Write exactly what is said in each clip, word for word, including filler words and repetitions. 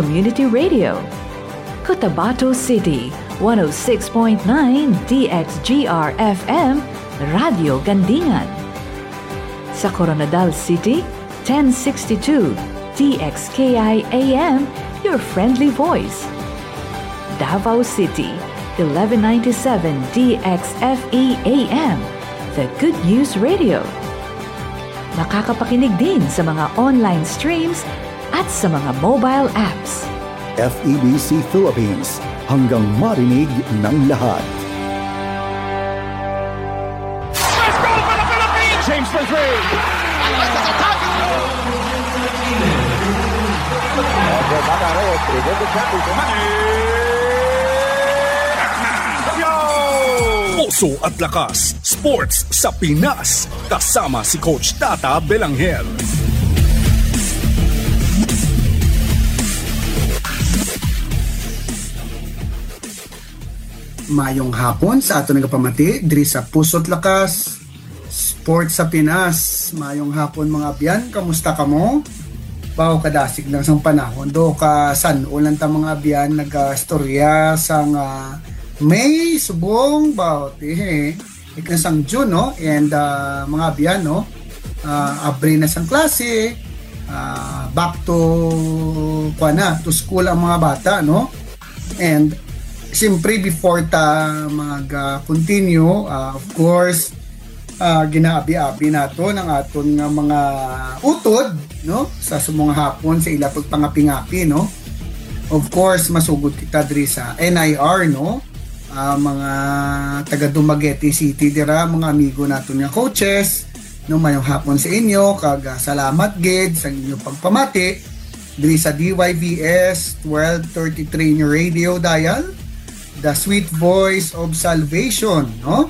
Community Radio. Cotabato City, one oh six point nine D X G R F M, Radyo Gandingan. Sa Koronadal City, ten sixty-two D X K I A M, your friendly voice. Davao City, eleven ninety-seven D X F E A M, the good news radio. Makakapakinig din sa mga online streams at sa mga mobile apps. F E B C Philippines, hanggang marinig ng lahat. James for three. Puso at Lakas, Sports sa Pinas, kasama si Coach Tata Belangel. Mayong hapon sa aton nagapamati diri sa Puso't Lakas, Sports sa Pinas. Mayong hapon, mga abyan, kamusta kamo? Baw kadasig lang sang panahon. Do ka san-o lang ta, mga abyan, nagastorya sang, ah, May subong baw ti, eh, ikna sang June, no? And, ah, mga abyan, no? Ah, abri na sang klase, ah, back to, kuwan na, to school ang mga bata, no? And siyempre, before ta mag, ah, continue, ah, of course, ah, ginaabi-abi naton ang aton nga mga utod, no? Sa sumong hapon sa ila pagpangapi-ngapi, no? Of course, masugod kita diri sa N I R, no? Ah, mga taga Dumaguete City dira, mga amigo naton nga coaches, no? Mayong hapon sa inyo, kag, ah, salamat gid sa inyo pagpamati diri sa D Y V S twelve thirty-three nga radio dial, The Sweet Voice of Salvation, no?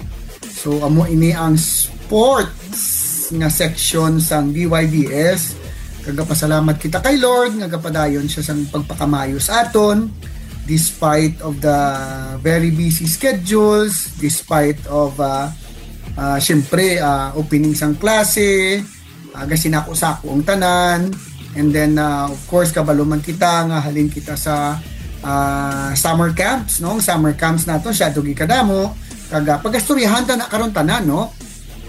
So, amo ini ang sports nga section sang D Y V S. Kagapasalamat kita kay Lord nga gapadayon siya sang pagpakamayo sa aton despite of the very busy schedules, despite of, ah, ah, siyempre, ah, opening sang klase, ah, gasinako-sako ang tanan. And then, ah, of course, kabalo man kita nga halin kita sa, ah, summer camps, no? Ang summer camps naton, siya dugi kadamo. Kag, ah, pagastoryahan ta na karon tanan, no?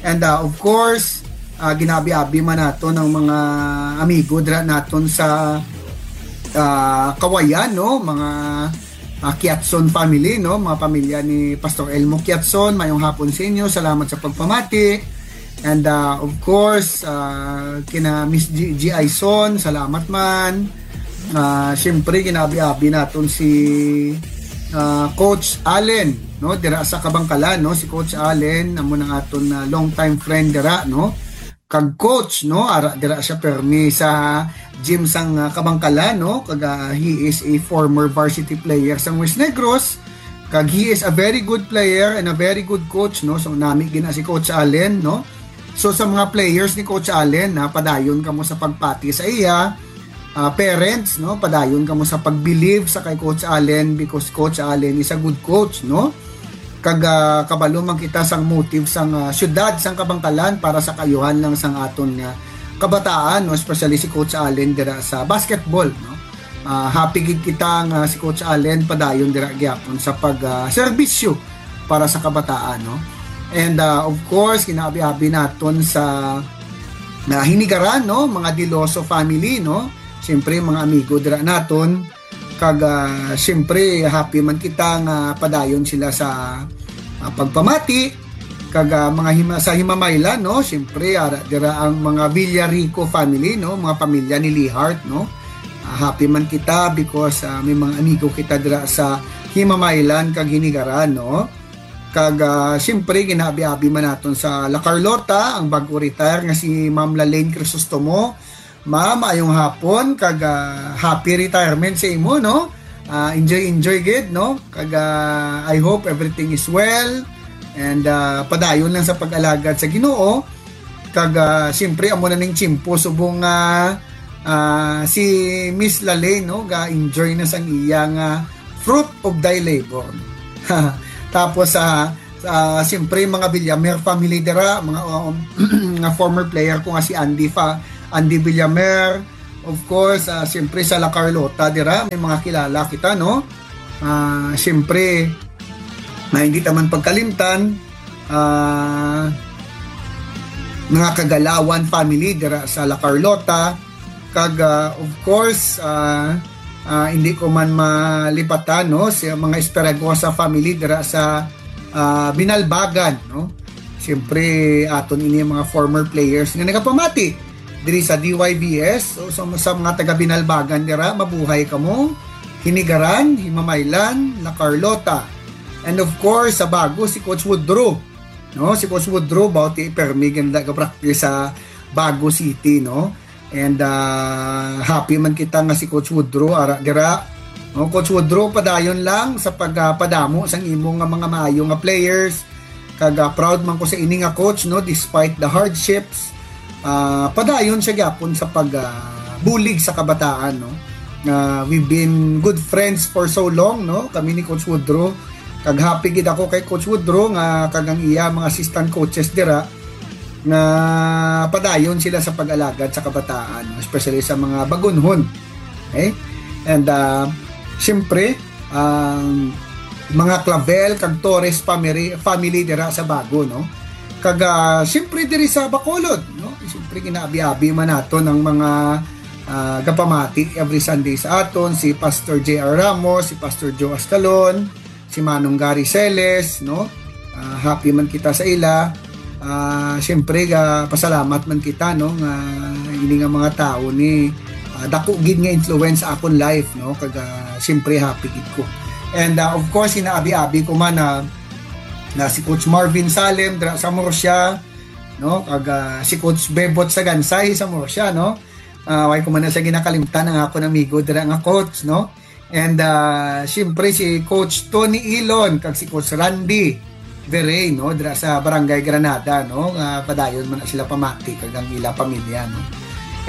And, ah, of course, ah, ginabi-abi man naton ang mga amigo dira naton sa, ah, Kawayan, no? Mga, ah, Kiatson family, no? Mga pamilya ni Pastor Elmo Kiatson, mayong hapon sa inyo. Salamat sa pagpamati. And, ah, of course, ah, kina Miss G-, G I Son, salamat man. Ah, siyempre, ginabi-abi naton si, ah, Coach Allen, no? Dira sa Kabangkalan, no? Si Coach Allen, amo nang aton, ah, long time friend dira, no? Kag coach, no? Ara dira siya permi sa gym sang, ah, Kabangkalan, no? Kag, ah, he is a former varsity player sang West Negros. Kag he is a very good player and a very good coach, no? So, nami gina si Coach Allen, no? So, sa mga players ni Coach Allen, na padayon kamo sa pagpati sa iya, ah, parents, no? Padayon kamo sa pag-believe sa kay Coach Allen because Coach Allen is a good coach, no? Kag, ah, kabalo man kita sang motive sang, ah, syudad sang Kabangkalan para sa kaayuhan lang sang aton nga kabataan, no? Especially si Coach Allen dira sa basketball, no? Ah, happy gid kita nga si Coach Allen padayon dira gyapon sa pag, ah, serbisyo para sa kabataan, no? And, ah, of course, kinaabi-abi naton sa, na hinigaran, no? Mga Diloso family, no? Siyempre, mga amigo dira naton. Kag, ah, siyempre, happy man kita nga padayon sila sa, ah, pagpamati. Kag, ah, mga hima-, sa Himamaylan, no? Siyempre, ara dira ang mga Villarico family, no? Mga pamilya ni Lihart, no? Ah, happy man kita because, ah, may mga amigo kita dira sa Himamaylan kag Hinigaran, no? Kag, ah, siyempre, ginaabi-abi man naton sa La Carlota, ang bag-o retire nga si Ma'am Lalaine Crisostomo. Ma'am, maayong hapon, kag, ah, happy retirement sa imo, no? Ah, enjoy, enjoy gid, no? Kag, ah, I hope everything is well, and, ah, padayon lang sa pag-alagad sa Ginoo. Kag, ah, siyempre, amo na ning tiyempo subong nga, ah, si Miss Lalaine, no, ga-enjoy na sang iya nga fruit of thy labor. Tapos, ah, ah, siyempre, mga Villamer family dira, mga, um, nga former player ko nga si Andy Fa-, Andy Villamer, Of course, ah, siyempre sa La Carlota dira, may mga kilala kita, no? Ah, siyempre, na hindi ta man pagkalimtan, ah, mga Kagalawan family dira sa La Carlota, kag, ah, of course, ah, ah, hindi ko man malipatan, no, sa mga Esperagosa family dira sa, ah, Binalbagan, no? Siyempre, aton ini mga former players nga nagapamati diri sa D Y V S. So, sa, sa mga taga Binalbagan dira, mabuhay kamo. Hinigaran, Himamaylan, La Carlota. And of course, sa bago, si Coach Woodrow. No, si Coach Woodrow, bawti permi ganda ka practice sa Bago City, no? And, ah, happy man kita nga si Coach Woodrow ara dira. No, Coach Woodrow, padayon lang sa pagpadamo sang imo nga mga maayo nga players. Kag, ah, proud man ko sa ini nga coach, no, despite the hardships. Ah, padayon siya gyapon sa pag, ah, bulig sa kabataan, no. Ah, we've been good friends for so long, no, kami ni Coach Woodrow. Kag happy gid ako kay Coach Woodrow nga kag ang iya mga assistant coaches dira nga padayon sila sa pag-alagad sa kabataan, especially sa mga bagunhon. Okay? And, ah, siyempre, ang mga Clavel kag Torres family, family dira sa Bago, no? Kag, ah, siyempre diri sa Bacolod, no? Siyempre ginaabi-abi man naton ang mga, ah, gapamati every Sunday sa aton, si Pastor J R Ramos, si Pastor Joe Ascalon, si Manong Gary Celes, no? Ah, happy man kita sa ila. Ah, siyempre, ga pasalamat man kita, no, nga ini nga mga tawo ni, ah, dako gid nga influence sa akon life, no, kag, ah, siyempre happy gid ko. And, ah, of course, inaabi-abi ko man na, na si Coach Marvin Salem dira sa Murcia, no, kag, ah, si Coach Bebot Sagansay sa Murcia, no. Ah, way ko man na siya ginakalimtan ang akon amigo dira nga coach, no. And, ah, siyempre si Coach Tony Ilon kag si Coach Randy Veray, no, dira sa Barangay Granada, no, nga padayon man na sila pamati kag ang ila pamilya, no.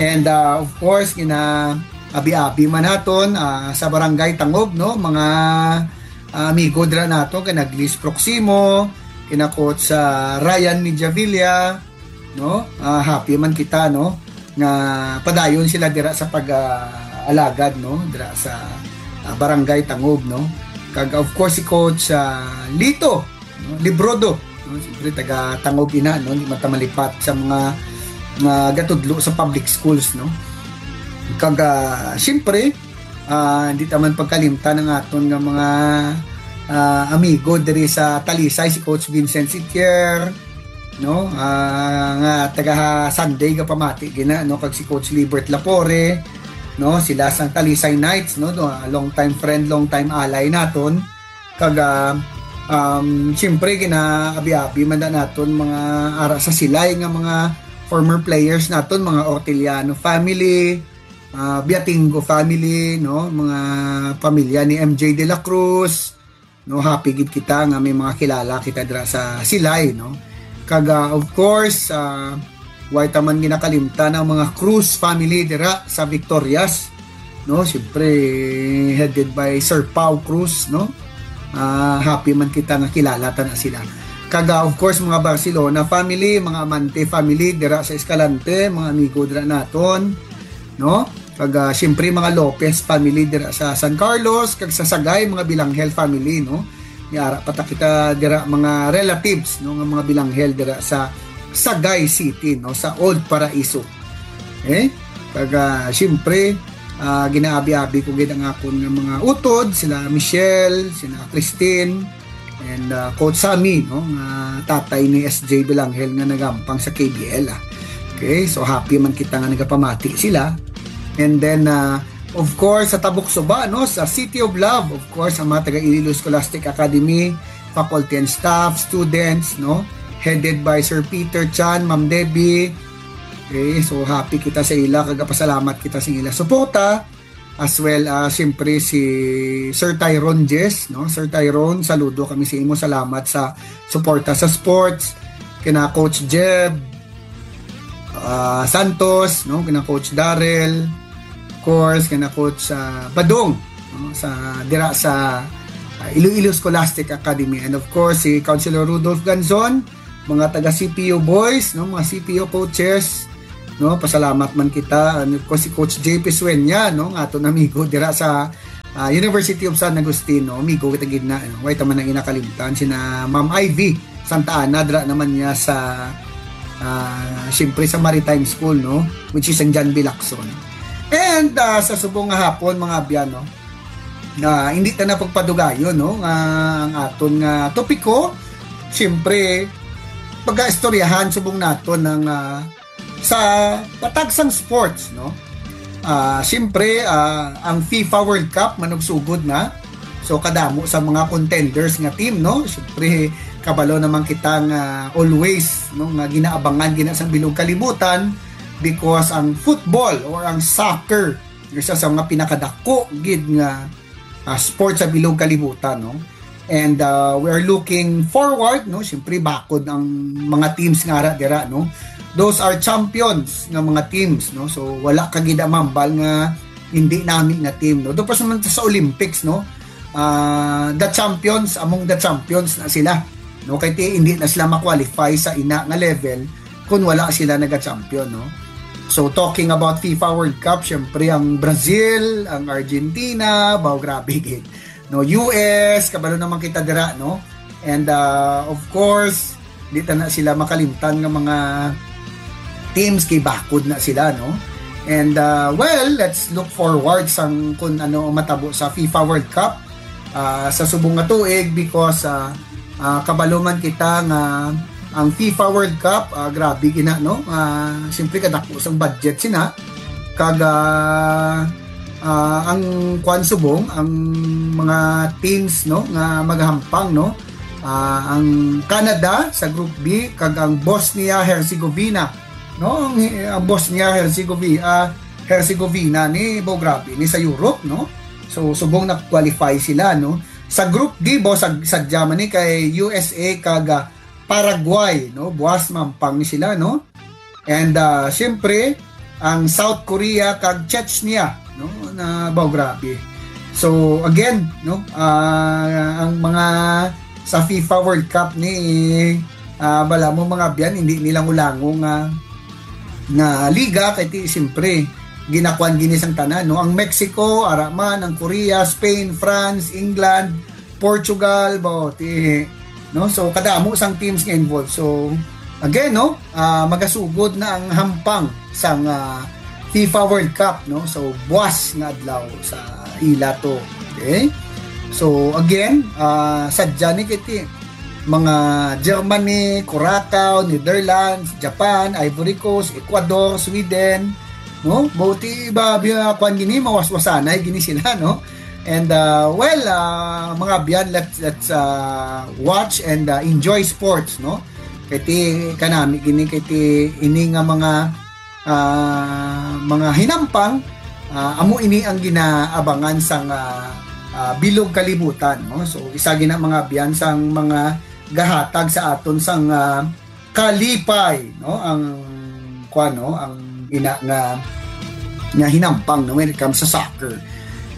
And, ah, of course, gina-abi-abi man naton, ah, sa Barangay Tangob, no, mga ah, amigo dira nato kay nag Liz Proximo, kina Coach, ah, Ryan Mediavilla, no? Ah, happy man kita, no, nga padayon sila dira sa pag, ah, alagad, no, dira sa, ah, Barangay Tangob, no. Kag of course si Coach, ah, Lito, no, Librodo, no? Siyempre taga Tangob ina, no, di man ta malipat sa mga, mga gatudlo sa public schools, no. Kag, ah, siyempre, ah, hindi ta man pagkalimtan ang aton nga mga, ah, amigo diri sa Talisay, si Coach Vincent Sitier, no? Ah, nga taga Sunday nga pamati gina, no, kag si Coach Libert Lapore, no? Sila sang Talisay Knights, no? No, ah, long time friend, long time ally naton. Kag, ah, um, siyempre, ginaabi-abi man na naton mga ara sa Silay nga mga former players naton, mga Orteliano family, ah, Biatingo family, no, mga pamilya ni M J De La Cruz, no, happy gid kita nga may mga kilala kita dira sa Silay, no. Kag, ah, of course, ah, way ta man ginakalimtan ang mga Cruz family dira sa Victorias, no. Siyempre, headed by Sir Pau Cruz, no. Ah, happy man kita nga kilala ta na sila. Kag, ah, of course, mga Barcelona family, mga Amante family dira sa Escalante, mga amigo dira naton, no? Kag, ah, siyempre, mga Lopez family dira sa San Carlos, kag sa Sagay, mga Bilanghel family, no? May ara pa ta kita dira, mga relatives, no, nga mga Bilanghel dira sa Sagay City, no, sa Old Paraiso. Eh? Kag, ah, siyempre, ah, ginaabi-abi ko gid ang akon nga mga utod, sila Michelle, sila Christine, and, ah, Coach Sammy, no, nga tatay ni S J Bilanghel nga nagampang sa K B L, ah. Okay, so happy man kita nga nagapamati sila. And then, ah, of course, sa Tabuk Suba, no, sa City of Love, of course, ang mga taga Iloilo Scholastic Academy, faculty and staff, students, no, headed by Sir Peter Chan, Ma'am Debbie. Okay, so happy kita sa ila, kag pasalamat kita sa ila suporta. As well, ah, siyempre si Sir Tyrone Jess, no? Sir Tyrone, saludo kami sa imo. Salamat sa suporta sa sports. Kina Coach Jeb, ah, Santos, no? Kina Coach Darrell, of course, kina Coach, ah, Badong, no? Sa, dira sa, ah, Iloilo Scholastic Academy. And of course, si Councilor Rudolph Ganzon, mga taga C P U boys, no? Mga C P U coaches, no? Pasalamat man kita, ano, ko si Coach J P Sueña, no? Nga aton amigo dira sa, ah, University of San Agustin, no? Amigo kita gid na, no? Way ta man ang inakalimtan, sina Ma'am Ivy Santa Ana, dira naman niya sa, ah, siyempre sa Maritime School, no? Which is ang John B. Lacson. And, ah, sa subong nga hapon, mga abyan, no? Na hindi ta na pagpadugayon, no? Nga ang aton nga topiko, siyempre, pagaistoryahan subong naton ang, ah, sa patag sang sports, no? Ah, siyempre, ah, ang FIFA World Cup manugsugod na. So, kadamo sa mga contenders nga team, no? Siyempre, kabalo naman kita nga always, no, nga ginaabangan gina sang bilog kalibutan because ang football or ang soccer isa sa mga pinakadako gid nga, ah, sports sa bilog kalibutan, no? And, ah, we are looking forward, no? Siyempre, bakod ang mga teams nga ara dira, no? Those are champions nga mga teams, no? So, wala ka gid mambal nga hindi nami nga team, no? Tapos naman sa Olympics, no? Ah, the champions among the champions na sila, no? Kay ti, hindi na sila ma-qualify sa ina nga level kung wala sila naga-champion, no? So, talking about FIFA World Cup, syempre ang Brazil, ang Argentina, baw, grabe gid. No, U S, kabalo naman kita dira, no? And, uh, of course, di ta na sila makalimtan nga mga teams kay bakod na sila, no? And, uh, well, let's look forward sang kung ano ang matabo sa FIFA World Cup, ah, sa subong nga tuig because, ah, ah, kabalo man kita nga ang FIFA World Cup, ah, grabe gina, no? Ah, siyempre kadako sang budget sina. Kag, ah, ah, ang kwan subong, ang mga teams, no, nga maghampang, no? Ah, ang Canada sa Group B kag ang Bosnia-Herzegovina, no? Ang, ang Bosnia-Herzegovina, ah, Herzegovina ni, bo, grabe ni sa Europe, no? So, subong na-qualify sila, no? Sa Group D, bo, sa, sadya man ni kay U S A kag, ah, Paraguay, no? Buwas mampang ni sila, no? And, ah, siyempre, ang South Korea kag Chechnya, no? Na, bo, grabe. So, again, no? Ah, ang mga sa FIFA World Cup ni, ah, bala mo, mga abyan, hindi nila ulango nga, nga liga, kay ti, siyempre, ginakuan gini sang tanan, no? Ang Mexico, ara man, ang Korea, Spain, France, England, Portugal, bo, ti, no? So, kadamo sang teams nga involved. So, again, no? Ah, magasugod na ang hampang sang, ah, FIFA World Cup, no? So, buwas nga adlaw sa ila to. Okay? So, again, ah, sadya ni kay ti, mga Germany, Curacao, Netherlands, Japan, Ivory Coast, Ecuador, Sweden, no? Bo, ti, iba, biya, kwan gini, mawaswasanay gini sila, no? And, uh, well, uh, mga abyan, let's, let's, uh, watch and, uh, enjoy sports, no? Kay ti, kanami gini, kay ti, ini nga mga, uh, mga hinampang, uh, amo ini ang ginaabangan sang, uh, uh, bilog kalibutan, no? So, isa gina, mga abyan, sang mga gahatag sa aton sang, uh, kalipay, no? Ang, kwan, no? Ang ina nga, nga hinampang, no? When it comes sa soccer.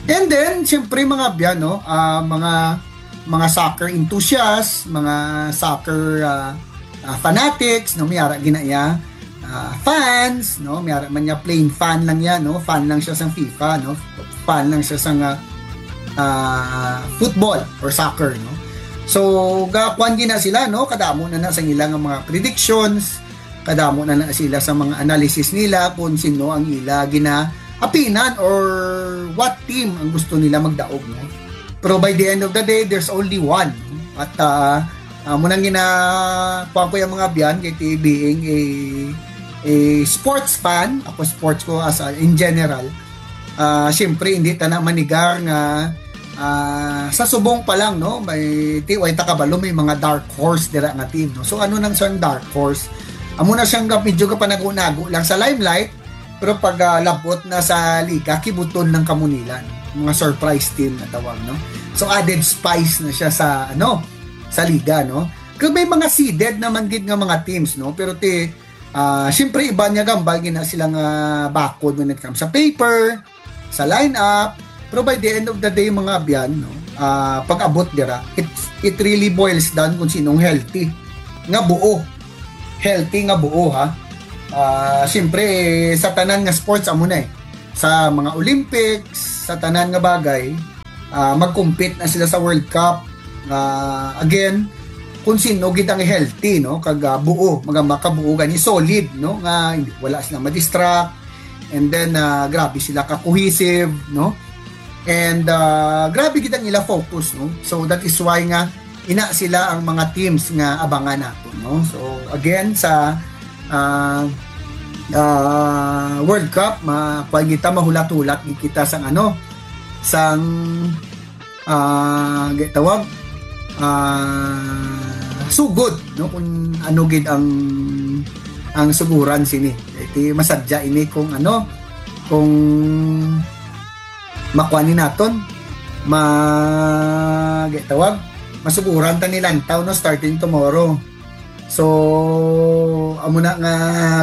And then, siyempre, mga abyan, no? Ah, mga, mga soccer enthusiasts, mga soccer, ah, ah, fanatics, no? May ara gina iya, ah, fans, no? May ara man niya plain fan lang yan, no? Fan lang siya sang FIFA, no? Fan lang siya sang, ah, ah, football or soccer, no? So, ga-, kwan gina sila, no? Kadamo na na sa ilang mga predictions, kadamo na na sila sa mga analysis nila kung sino ang ila ginaapinan or what team ang gusto nila magdaog, no? Pero by the end of the day, there's only one. At, ah, ah, muna gina, kuwan ko yung mga abyan, kay ti being a, a sports fan, ako sports ko as a, in general, ah, siyempre, hindi ta na manigar nga, ah, sa subong pa lang, no? May, ti, way ta kabalo, may mga dark horse dira nga team, no? So, ano nang siyang dark horse? Amo na siyang gap-, medyo kapanago-nago lang sa limelight, pero pag, ah, labot na sa liga, kibuton lang kamo nila, no? Mga surprise team na tawag, no? So, added spice na siya sa, ano, sa liga, no? Kaya may mga seeded naman gid nga mga teams, no? Pero ti, ah, siyempre, iba niya gambal gina sila nga bakod when it comes sa paper, sa lineup. Pero by the end of the day, mga abyan, no, ah, pag-abot dira, it, it really boils down kung sinong healthy nga buo. Healthy nga buo, ha? Ah, siyempre, sa tanan nga sports, amo na eh. Sa mga Olympics, sa tanan nga bagay, ah, mag-compete na sila sa World Cup. Ah, again, kung sino gid ang healthy, no? Kag, ah, buo, mga makabuo gani, solid, no? Nga hindi, wala sila ma-distract. And then, ah, grabe sila ka-cohesive, no? And, ah, grabe gid ang ila focus, no? So, that is why nga ina sila ang mga teams nga abangan nato, no? So, again, sa, ah, ah, World Cup, ma-, kuwan kita, mahulat-hulat gid kita sang ano, sang, ah, gitawag, ah, sugod, no? Kung ano gid ang, ang suguran sini. Iti masadya ini kung ano, kung makuha ni naton, ma-, gitawag, masuguran ta ni lantaw, no, starting tomorrow. So, amo na nga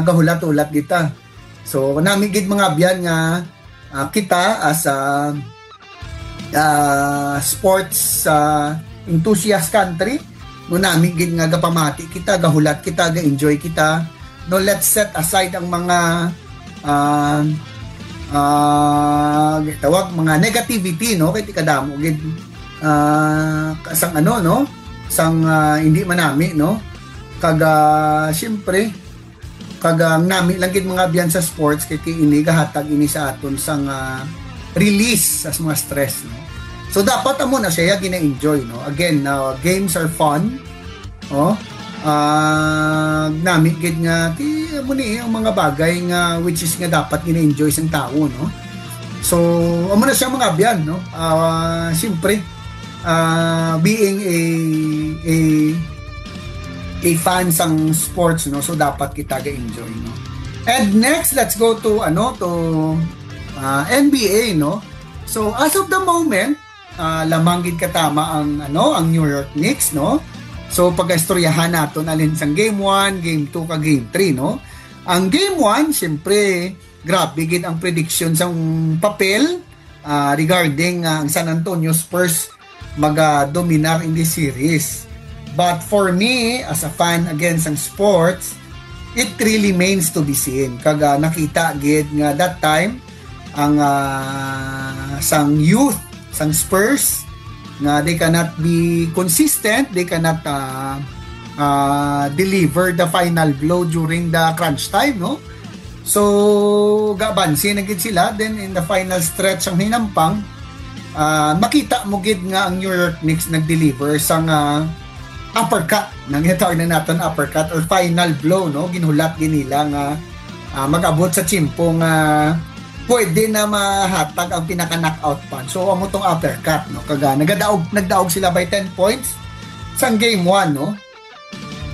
gahulat-hulat kita. So, nami gid mga abyan nga, ah, kita as a, ah, sports, ah, enthusiast country, no, nami gid nga gapamati kita, gahulat kita, ga-enjoy kita. No, let's set aside ang mga, ah, ah, tawag, mga negativity, no, kay ti kadamo gid, ah, sang ano, no, sang, ah, hindi manami, no, kag, ah, siyempre, kag ang nami lang gid mga abyan sa sports kay, kay ini gahatag ini sa aton sang, ah, release sa mga stress, no? So, dapat amo na siya gina-enjoy, no? Again, uh, games are fun, oh. Ah, nami gid nga ti amo ni ang mga bagay nga which is nga dapat gina-enjoy sang tawo, no? So, amo na siya mga abyan, no? Ah, siyempre, ah, being a, a, a fan sang sports, no? So, dapat kita ga-enjoy, no? And next, let's go to, ano, to, ah, N B A, no? So, as of the moment, ah, lamang gid katama ang, ano, ang New York Knicks, no? So, pag-istoryahan naton alin sang game one, game two, ka game three, no? Ang game one, siyempre, grabe gid ang prediction sang papel, ah, regarding, ah, ang San Antonio Spurs maga-dominar in this series. But for me, as a fan again sang sports, it really remains to be seen. Kag, ah, nakita gid nga that time, ang, ah, sang youth, sang Spurs, nga they cannot be consistent, they cannot, ah, ah, deliver the final blow during the crunch time, no? So, gabansi na gid sila. Then, in the final stretch ang hinampang, ah, makita mo gid nga ang New York Knicks nag-deliver sang, ah, uppercut. Nang itawag na naton uppercut or final blow, no? Ginhulat gid nila nga, ah, mag-abot sa tiyempo nga pwede na mahatag ang pinaka-knockout punch. So, amo tong uppercut, no? Kag, ah, nagadaog, nagdaog sila by ten points sang game one, no?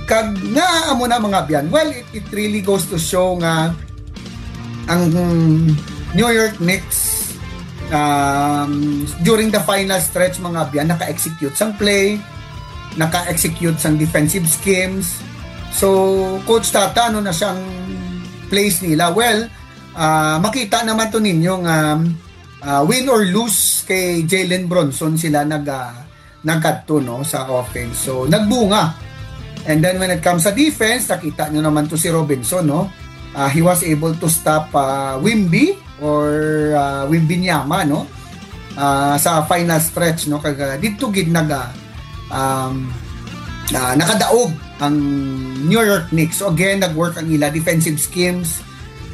Kag nga amo na mga abyan. Well, it, it really goes to show nga ang New York Knicks, um, during the final stretch, mga abyan, naka-execute sang play, naka-execute sang defensive schemes. So, Coach Tata, ano na siyang plays nila? Well, ah, makita naman to ninyo nga, ah, win or lose kay Jalen Brunson sila nag, ah, nagkadto, no, sa offense. So, nagbunga. And then when it comes sa defense, nakita nyo naman to si Robinson, no? Ah, he was able to stop, ah, Wimby or, ah, Wembanyama, no? Ah, sa final stretch, no? Kag, ah, didto gid nag, ah, um, ah, nakadaog ang New York Knicks. So again, nag-work ang ila defensive schemes.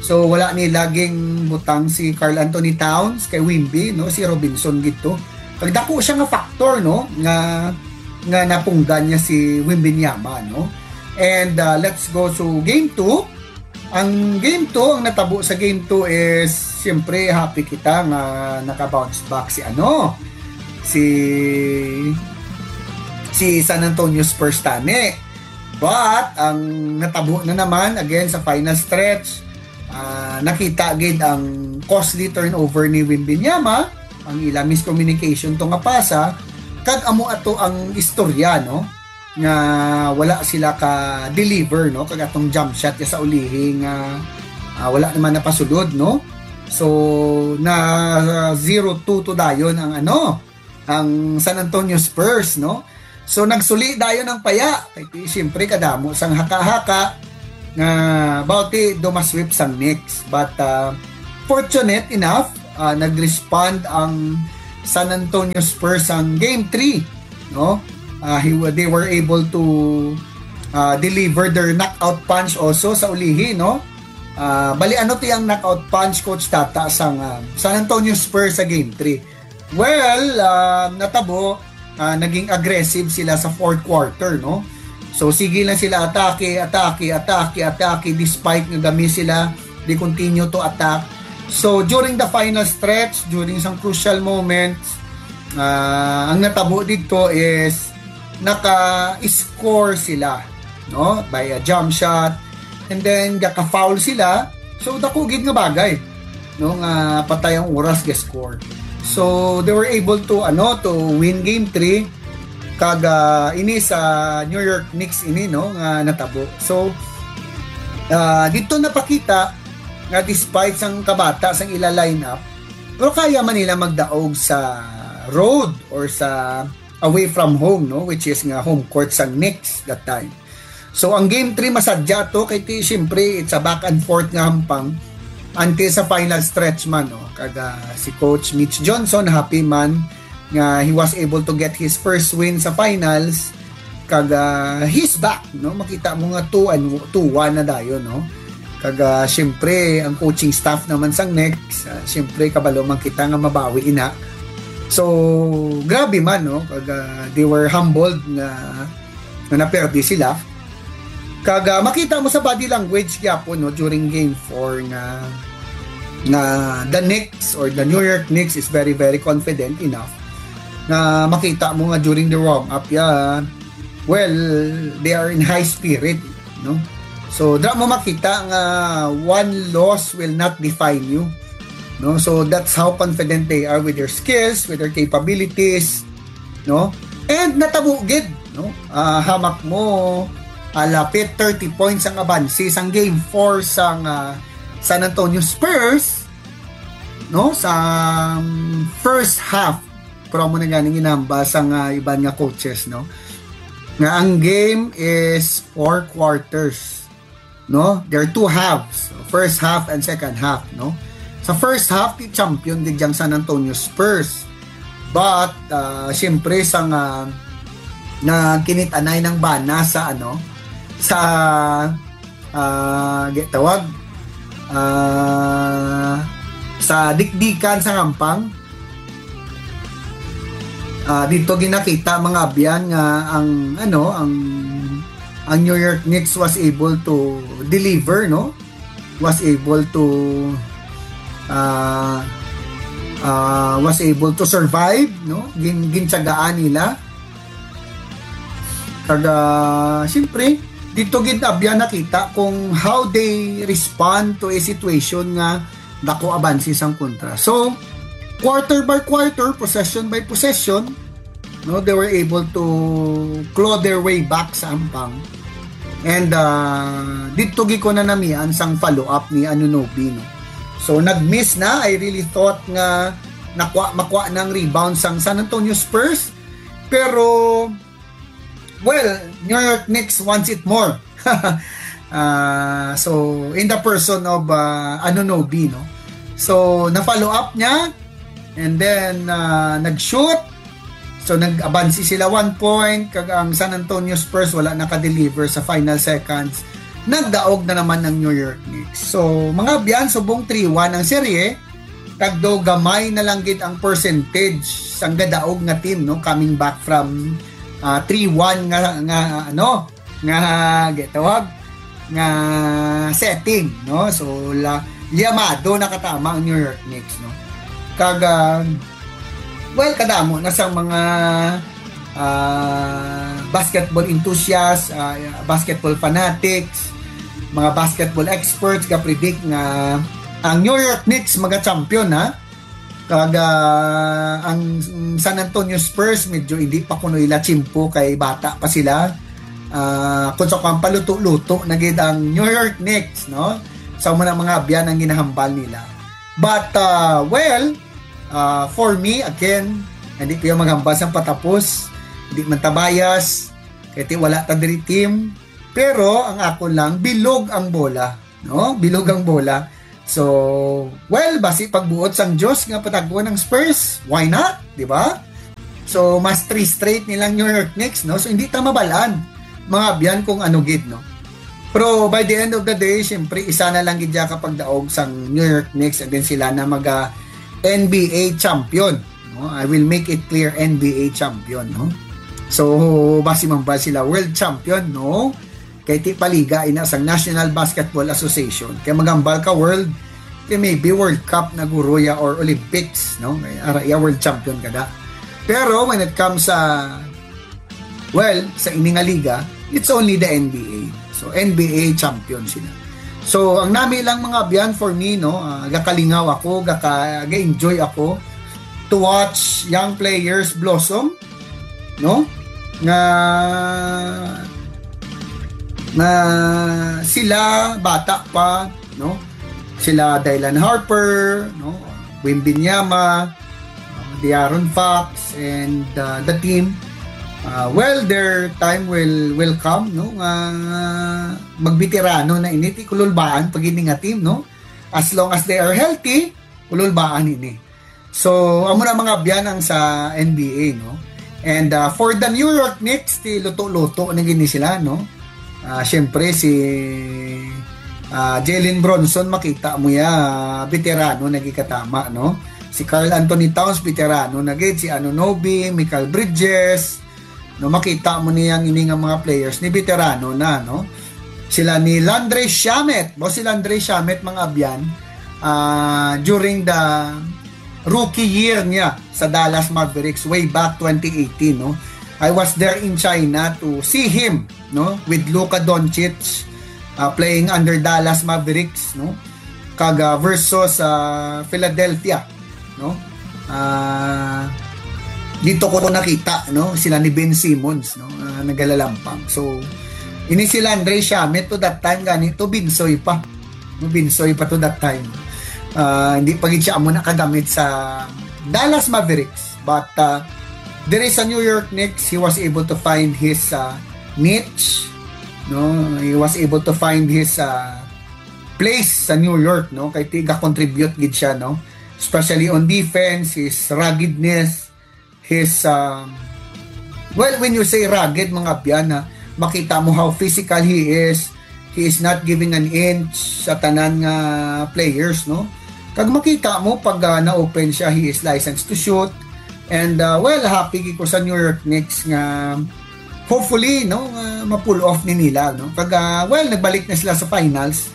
So wala nila ginbutang si Karl Anthony Towns kay Wimby, no? Si Robinson gid to. Kag dako siya nga factor, no, nga, nga napunggan niya si Wembanyama, no? And, uh, let's go to game two. Ang game two, ang natabo sa game two is, siyempre, happy kita nga naka-bounce back si, ano, si, si San Antonio Spurs tani. But ang natabo na naman, again, sa final stretch, ah, nakita gid ang costly turnover ni Wembanyama, ang ila miscommunication to nga pasa, kag amo ato ang istorya, no, nga wala sila ka-deliver, no, kag atong jump shot ya sa ulihi nga, ah, wala naman napasulod, no. So, na zero two to dayon ang, ano, ang San Antonio Spurs, no. So, nagsuli dayon ang paya. Kay, siyempre, kadamo sang haka-haka. nga bawti do masweep sang Knicks. But uh, fortunate enough, uh, nag-respond ang San Antonio Spurs sang game three, no? Uh, he, they were able to uh, deliver their knockout punch also sa ulihi, no? Uh, bali, ano to yung knockout punch, Coach Tata, sang uh, San Antonio Spurs sa game three? Well, uh, natabo, uh, naging aggressive sila sa fourth quarter, no? So, sige lang sila atake, atake, atake, atake, despite nga gami sila, they continue to attack. So, during the final stretch, during some crucial moments, uh, ang natabo dito is naka-score sila, no? By a jump shot, and then gaka-foul sila. So, dako gid nga bagay, no, nga patay ang oras ga-score. So, they were able to, ano, to win game three. Kag uh, ini sa New York Knicks ini, no, nga natabo. So, uh, dito napakita nga despite sang kabata sang ila lineup, pero kaya man nila magdaog sa road or sa away from home, no, which is nga home court sang Knicks that time. So, ang game three masadya to kay ti, siyempre, it's a back and forth nga hampang until sa final stretch man, no. Kag uh, si Coach Mitch Johnson happy man nga he was able to get his first win sa finals. Kag uh, he's back, no. Makita mo nga two and two one na dayon, no. Kag uh, siyempre, ang coaching staff naman sang Knicks, uh, siyempre, kabalo man kita nga mabawi ina. So, grabe man, no. Kag uh, they were humbled nga nga naperdi sila. Kag uh, makita mo sa body language gyapon, no, during game four nga nga the Knicks or the New York Knicks is very, very confident enough nga makita mo nga during the warm up, yeah, well, they are in high spirit, no? So, dra mo makita nga one loss will not define you, no? So, that's how confident they are with their skills, with their capabilities, no? And natabo gid, no? Uh, hamak mo, uh, lapit thirty points ang abansi sang game four sang uh, San Antonio Spurs, no? Sa um, first half, pero mo na ganing inamba sang uh, iban nga coaches, no? Nga ang game is four quarters, no? There are two halves, first half and second half, no? Sa first half, ti champion gid ang San Antonio Spurs. But uh, siyempre sa nga nagkinit-anay ng bana sa ano sa uh, tawag uh, sa dikdikan sa hampang, uh, dito ginakita mga abyan nga ang ano ang ang New York Knicks was able to deliver, no? Was able to uh, uh, was able to survive, no? Gin gintiyagaan nila. Kag uh, siyempre, dito gid abya nakita kung how they respond to a situation nga dako abansi sang kontra. So, quarter by quarter, possession by possession, no, they were able to claw their way back sa ampang. And uh, dito gi ko na namian sang follow-up ni Anunobi, no. So nag-miss na. I really thought nga nakwa makwa ng rebound sang San Antonio Spurs. Pero well, New York Knicks wants it more. uh, so in the person of uh, Anunobi, no. So na-follow up niya and then uh, nag-shoot. So nag-abansi sila one point kag ang San Antonio Spurs wala naka-deliver sa final seconds. Nagdaog na naman ang New York Knicks. So mga abyan, subong three one ang serye. Kag do gamay na lang gid ang percentage sang gadaog nga team, no, coming back from uh, three one nga nga ano nga gitawag nga setting, no. So la, liyamado nakatama ang New York Knicks, no. Kag uh, well, kadamo na sang mga uh, basketball enthusiasts, uh, basketball fanatics, mga basketball experts ga-predict nga ang New York Knicks maga-champion, ha. Kag uh, ang San Antonio Spurs medyo hindi pa kuno ila tiyempo kay bata pa sila. Uh, kung sa kung paluto-luto na gid ang New York Knicks, no? Sa mga mga abyan ang ginahambal nila. But uh, well, uh, for me again, hindi ko yung maghambal sa patapos. Hindi man ta bias, kay ti wala ta diri team. Pero ang ako lang, bilog ang bola, no? Bilog ang bola. So, well, basi pagbuot sang Diyos nga patag-on ang Spurs, why not? Di ba? So, mas three straight nilang New York Knicks, no? So, hindi ta mabalaan, mga abyan, kung ano gid, no? Pero by the end of the day, siyempre, isa na lang gid siya kapagdaog sang New York Knicks, and then sila na maga N B A champion, no? I will make it clear, N B A champion, no? So, basi man ba sila world champion? No. Kay ti paliga ina sang National Basketball Association. Kay magambal ka world, kay maybe World Cup na guro ya or Olympics, no? Kay ara ya world champion kada. Pero when it comes sa, well, sa ini nga liga, it's only the N B A. So, N B A champion sila. So, ang nami lang, mga abyan, for me, no, ah, gakalingaw ako, gaka, ga-enjoy ako to watch young players blossom, no? Nga, nga sila bata pa, no? Sila Dylan Harper, no? Wembanyama, De'Aaron Fox, and, uh, the team. Uh, well, their time will, will come, no? Nga magbeterano na ini, ti kululbaan pag ini nga team, no? As long as they are healthy, kululbaan ini. So, amo na, mga abyan, ang sa N B A, no? And, uh, for the New York Knicks, ti luto-luto na gini sila, no? Ah, siyempre, si, ah, Jalen Brunson, makita mo ya, ah, veterano na gid katama, no? Si Karl Anthony Towns, veterano na gid. Si Anunoby, Mikal Bridges, no? Makita mo niya ang ini nga mga players ni veterano na, no? Sila ni Landry Shamet. Bo, si Landry Shamet, mga abyan, ah, during the rookie year niya sa Dallas Mavericks way back twenty eighteen, no? I was there in China to see him, no, with Luka Doncic, uh, playing under Dallas Mavericks, no? Kag, uh, versus, uh, Philadelphia, no? Ah, dito ko nakita, no, sila ni Ben Simmons, no, ah, nagalalampang. So, ini si Landry Shamet to that time, gani to, binsoy pa. No, binsoy pa to that time. Ah, hindi pa gid siya amo nakagamit sa Dallas Mavericks. But, ah, there is a New York Knicks, he was able to find his, ah, niche. No, he was able to find his, ah, place sa New York, no? Kay tiga contribute gid siya, no? Especially on defense, his ruggedness, his, um, well, when you say rugged, mga abyan, ha, makita mo how physical he is. He is not giving an inch sa tanan nga players, no? Kag makita mo pag, ah, na-open siya, he is licensed to shoot. And, ah, well, happy gid ko sa New York Knicks nga hopefully, no, nga ma-pull off ni nila, no? Kag, ah, well, nagbalik na sila sa finals.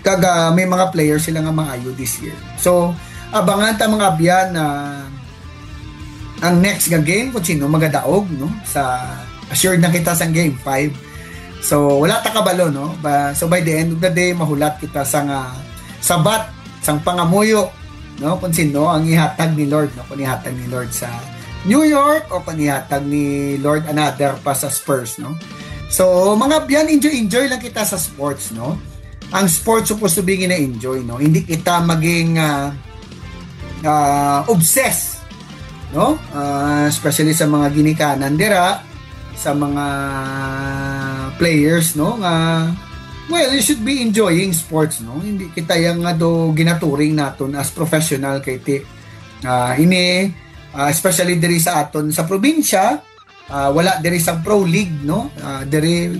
Kag, ah, may mga players sila nga maayo this year. So, abangan ta, mga abyan, na ang next nga game kung sino magadaog, no? Sa, assured na kita sa game five. So, wala ta kabalo, no? Ba, so, by the end of the day, mahulat kita sa nga sabat, sang pangamuyo, no? Kung sino ang ihatag ni Lord, no? Kung ihatag ni Lord sa New York o kung ihatag ni Lord another pa sa Spurs, no? So, mga abyan, enjoy-enjoy lang kita sa sports, no? Ang sports supposed to be gina-enjoy, no? Hindi kita maging, ah, ah, obsessed, no? Ah, especially sa mga ginikanan dira, sa mga players, no? Nga, well, you should be enjoying sports, no? Hindi kita yang nga do ginaturing naton as professional kay ti, ah, ini, ah, especially diri sa aton sa probinsya, ah, wala diri sa pro league, no? Ah, diri,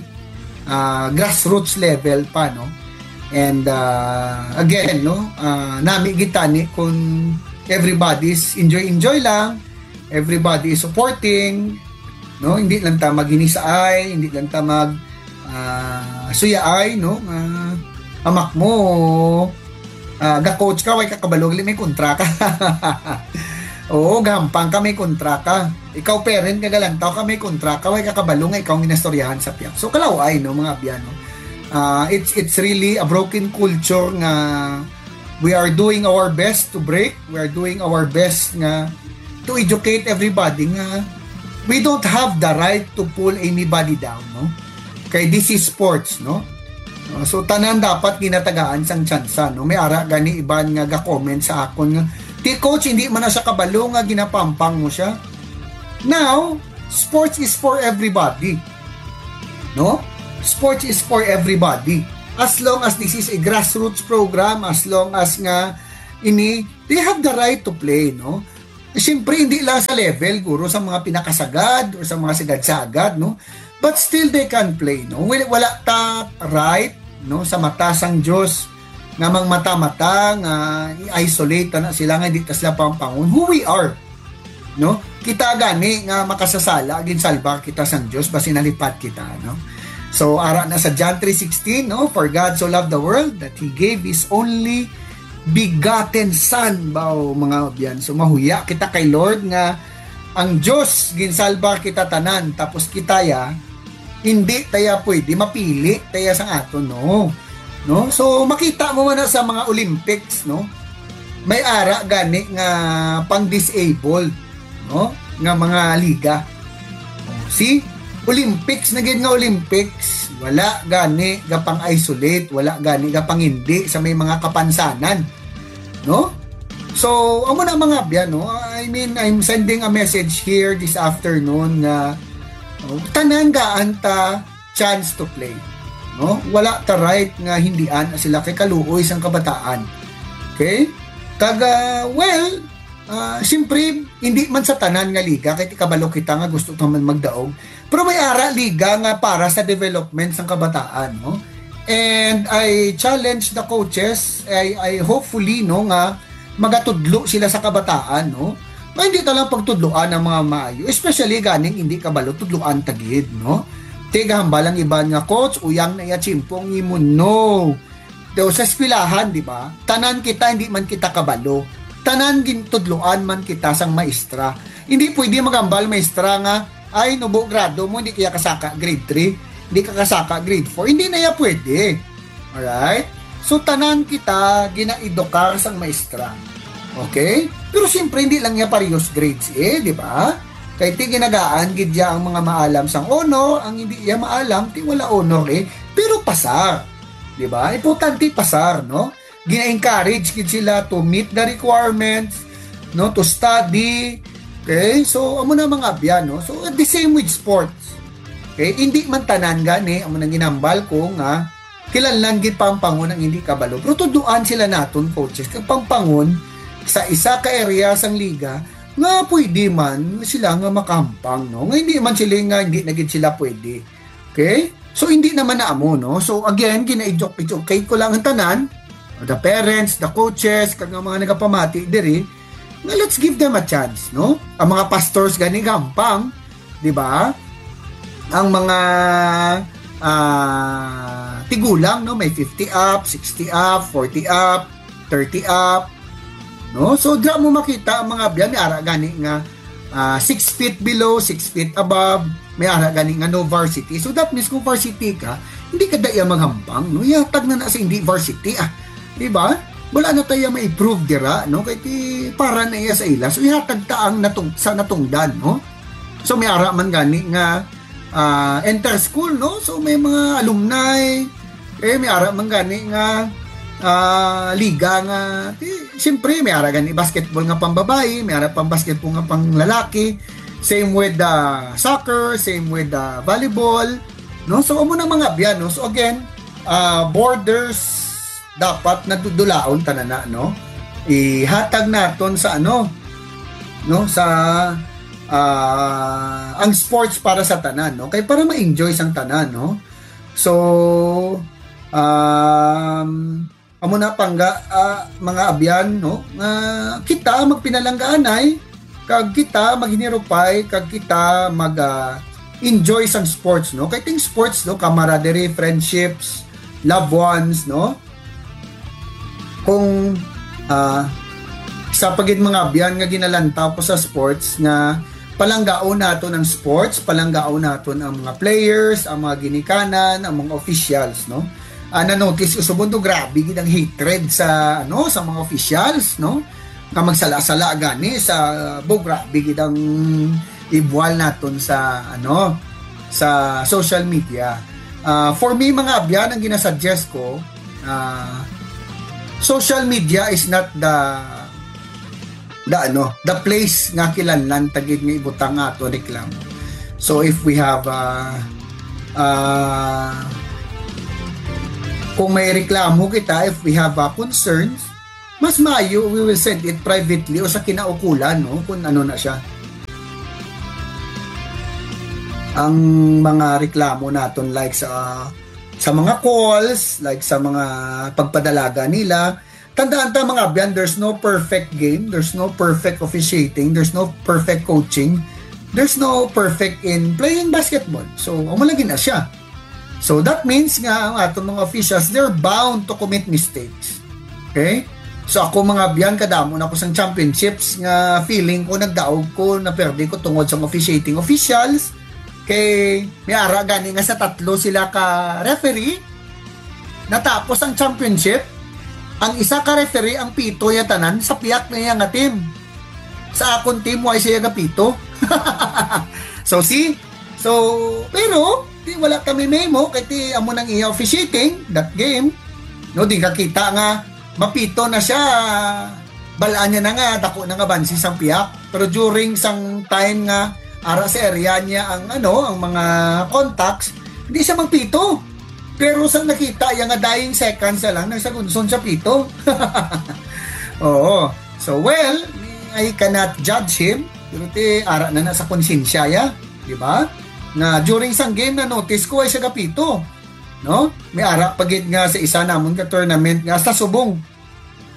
ah, grassroots level pa, no? And, ah, again, no? Ah, nami gid tani kung everybody's enjoy-enjoy lang, everybody is supporting, no? Hindi lang ta maginisaay, hindi lang ta mag, ah, suyaay, no? Nga amak mo, ah, ga-coach ka, way ka kabalo, gali may kontra ka. Oo, gahampang ka, may kontra ka. Ikaw, parent ka, galantaw ka, may kontra ka, way ka kabalo nga ikaw ang ginastoryahan sa piyak. So, kalaw-ay, no, mga abyan, no? Ah, it's, it's really a broken culture nga we are doing our best to break, we are doing our best nga to educate everybody nga we don't have the right to pull anybody down, no? Kay this is sports, no? Uh, so, tanan dapat ginatagaan sang tsansa, no? May ara gani iban nga ga-comment sa akon nga, "Ti, coach, hindi man na siya kabalo nga ginapampang mo siya." Now, sports is for everybody. no? Sports is for everybody. As long as this is a grassroots program, as long as nga ini, they have the right to play, no? Siyempre, hindi lang sa level, guro, sa mga pinakasagad or sa mga sagad-sagad, no? But still, they can play, no? Wala, wala ta right, no, sa mata sang Diyos nga mang mata-mata nga i-isolate na sila nga hindi ta sila pampangon. Who we are, no? Kita gani nga makasasala, ginsalba kita sang Diyos, basi nalipat kita, no? So, ara na sa John three sixteen, no? "For God so loved the world that He gave His only begotten Son." Baw, mga abyan. So, mahuya kita kay Lord nga ang Diyos, ginsalba kita tanan, tapos kita ya, hindi taya pwede mapili taya sang aton, no? No? So, makita mo man na sa mga Olympics, no? May ara gani nga pang-disabled, no? Nga mga liga. See? Olympics na gid nga Olympics, wala gani ga pang-isolate, wala gani ga pangindi sa may mga kapansanan, no? So, amo na, mga abyan, no? I mean, I'm sending a message here this afternoon nga, oh, tanan gaan ta chance to play, no? Wala ta right nga hindian sila kay kaluoy sang kabataan. Okay? Kag, ah, well, ah, siyempre, hindi man sa tanan nga liga, kay kabalo kita nga gusto ta man magdaog. Pero may ara liga nga para sa development sang kabataan, no? And I challenge the coaches, I, I hopefully, no, nga magatudlo sila sa kabataan, no? Nga hindi ta lang pagtudloan ang mga maayo, especially ganing hindi kabalo, tudloan ta gid, no? Tigahambal ang iban nga, "Coach, uyang na iya tiyempo ang imo." No. Daw sa eskwelahan, di ba? Tanan kita, hindi man kita kabalo. Tanan gintudloan man kita sang maestra. Hindi pwede magambal maestra nga, "Ay, nubo grado mo, hindi kaya kasaka grade three, hindi ka kasaka grade four." Hindi na ya pwede. Alright? So, tanan kita ginaedukar sang maestra. Okay? Pero siyempre, hindi lang niya parehos grades eh, di ba? Kay ti ginagaan gid ya ang mga maalam sang honor, ang hindi ya maalam, ti wala honor eh. Pero pasar. Di ba? Importante pasar, no? Gina-encourage gid sila to meet the requirements, no? To study. Okay? So, amo na, mga abyan, no? So, the same with sports. Okay? Hindi man tanan gani, amo nang ginambal ko nga, kinahanglan gid pampangon ang hindi kabalo. Pero tudloan sila naton, coaches, kag pampangon sa isa ka area sang liga nga pwede man sila nga makahampang, no? Nga hindi man sila nga hindi na gid sila pwede. Okay? So, hindi naman na amo, no? So, again, gina-educate ko lang ang tanan, the parents, the coaches, kag ang mga nagapamati diri, nga let's give them a chance, no? Ang mga pastors gani gampang, di ba? Ang mga, ah, tigulang, no, may fifty up, sixty up, forty up, thirty up, no? So, dira mo makita ang mga abyan, may ara gani nga, ah, six feet below, six feet above, may ara gani nga no varsity. So, that means kung varsity ka, hindi ka daya maghampang, no? Ihatag na na sa hindi varsity, ah. Di ba? Wala na tayo ma-improve dira, no? Kay ti para na iya sa ila. So, ihatag ta ang natung sa natungdan, no? So, may ara man gani nga, ah, inter-school, no? So, may mga alumni, eh, may ara man gani nga, ah, liga nga, ti, siyempre, may ara gani basketball nga pambabayi, may ara pang basketball nga pang lalaki. Same with the soccer, same with the volleyball, no? So, amo na, mga abyan, no? So, again, ah, borders dapat nadudulaon tanan na, no? Ihatag naton sa ano, no? Sa, ah, ang sports para sa tanan, no? Kay para ma-enjoy sang tanan, no? So, um, amo na pangga, ah, mga abyan, no? Nga kita magpinalanggaanay, kag kita maghinirupay, kag kita mag, ah, enjoy sang sports, no? Kay ting sports, no? Camaraderie, friendships, loved ones, no? Kung, ah, sa pagid mga abyan nga ginalantaw ko sa sports nga palanggaon naton ang sports, palanggaon naton ang mga players, ang mga ginikanan, ang mga officials, no? Ah, na-notice ko subong to, grabe gid ang hatred sa, ano, sa mga officials, no? Nga magsala-sala gani sa, bo, grabe gid ang ibuwal naton sa, ano, sa social media. Ah, for me, mga abyan, ang ginasuggest ko, ah, social media is not the, the, ano, the place nga kinahanglan ta gid nga ibutang nga ato reklamo. So, if we have, ah, Ah, kung may reklamo kita, if we have, ah, concerns, mas maayo, we will send it privately o sa kinaukulan, no? Kung ano na siya. Ang mga reklamo naton, like sa, sa mga calls, like sa mga pagpadalaga nila, tandaan ta, mga abyan, there's no perfect game, there's no perfect officiating, there's no perfect coaching, there's no perfect in playing basketball. So, amo lagi na siya. So, that means nga ang aton mga officials, they're bound to commit mistakes. Okay? So, ako, mga abyan, kadamo na ko sang championships nga feeling ko nagdaog ko, naperdi ko tungod sa officiating officials. Kay may ara gani nga sa tatlo sila ka referee, natapos ang championship, ang isa ka referee ang pito ya tanan sa piyak na iya nga team. Sa akon team, why siya gapito? So, see? So, pero, di, wala kami memo, kay ti amo nang iya officiating that game. No, di ka kita nga mapito na siya, balaan niya na nga, dako na nga bansi sang piyak. Pero during sang time nga ara sa area niya ang, ano, ang mga contacts, hindi siya magpito. Pero sa nakita iya nga dying seconds na lang, nagsagunson siya pito. Oo. So, well, I cannot judge him. Pero ti, ara na na sa konsensya ya, di ba? Nga during sang game, na-notice ko ay siya gapito. No? May ara pa gid nga sa isa namon ka tournament nga hasta subong,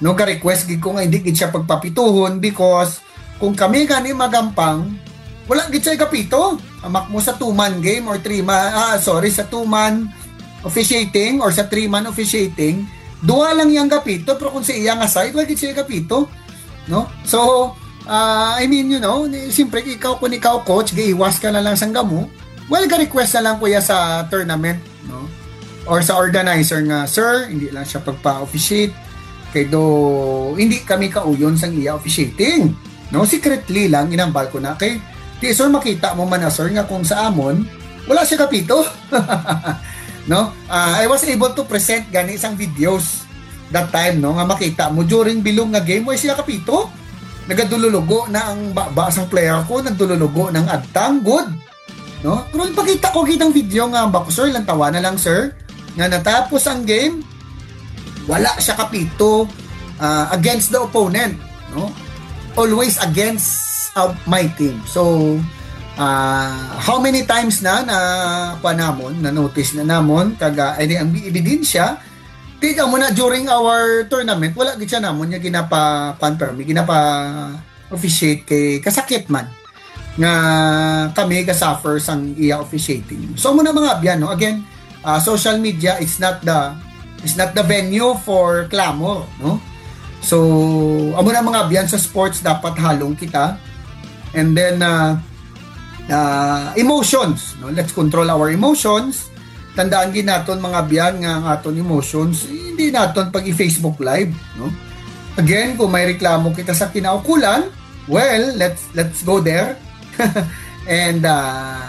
no, ga-request gid ko nga hindi gid siya pagpapituhon, because kung kami gani magampang, wala gid siya gapito. Amak mo sa two-man game or three-man, ah, sorry, sa two-man officiating or sa three-man officiating, duha lang yang gapito, pero kung sa iya nga side, wala gid siya gapito, no? So, ah, I mean, you know, ni, siyempre, ikaw, kung ikaw, coach, gaiwas ka na lang sang gamo, well, ga-request na lang, kuya, sa tournament, no? Or sa organizer nga, "Sir, hindi lang siya pagpa-officiate. Kay do, hindi kami kauyon sang iya officiating." No? Secretly lang, inambal ko na. Kay, di, sir, makita mo man na, sir, nga kung sa amon, wala siya kapito. No? Ah, I was able to present gani sang videos that time, no? Nga makita mo, during bilog nga game, wala siya kapito. Nagadululugo na ang baba sang player ko, nagdululugo ng adtang, good. No? Pero ipakita ko kitang video nga, bako, sir, lantawa na lang, sir, nga natapos ang game, wala siya kapito, ah, against the opponent, no? Always against, uh, my team. So, ah, how many times na, na, kuwan namon, na-notice na namon, kag, ah, ay, di, ang ebidensya, di ka mo na during our tournament, wala gid siya namon niya ginapa, kuwan, permi, ginapa officiate kay kasakit man nga kami ga-suffer sang iya officiating. So, amo na, mga abyan, no? Again, ah, social media, it's not the, it's not the venue for clamor, no? So, amo na, mga abyan, sa sports dapat halong kita. And then, ah, ah, emotions, no? Let's control our emotions. Tandaan gid naton, mga abyan, nga ang aton emotions, eh, hindi naton pag i-Facebook Live, no? Again, kung may reklamo kita sa kinaukulan, well, let's, let's go there and, ah,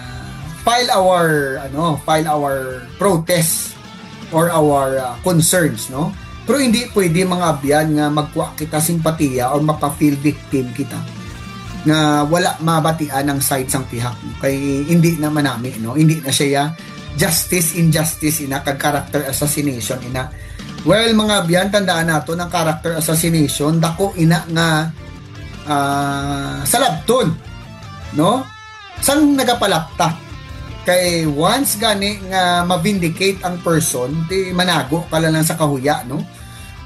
file our, ano, file our protest or our, ah, concerns, no? Pero hindi pwede, mga abyan, nga magkuha kita simpatiya or mapa-feel victim kita nga wala mabatian ang side sang pihak, no? Kay hindi na manami, no? Hindi na siya justice, injustice, ina, kag character assassination, ina. Well, mga abyan, tandaan naton ang character assassination, dako ina nga, ah, salabton, no? Sang nagapalapta. Kay once gani nga ma-vindicate ang person, ti manago ka lang sa kahuya, no?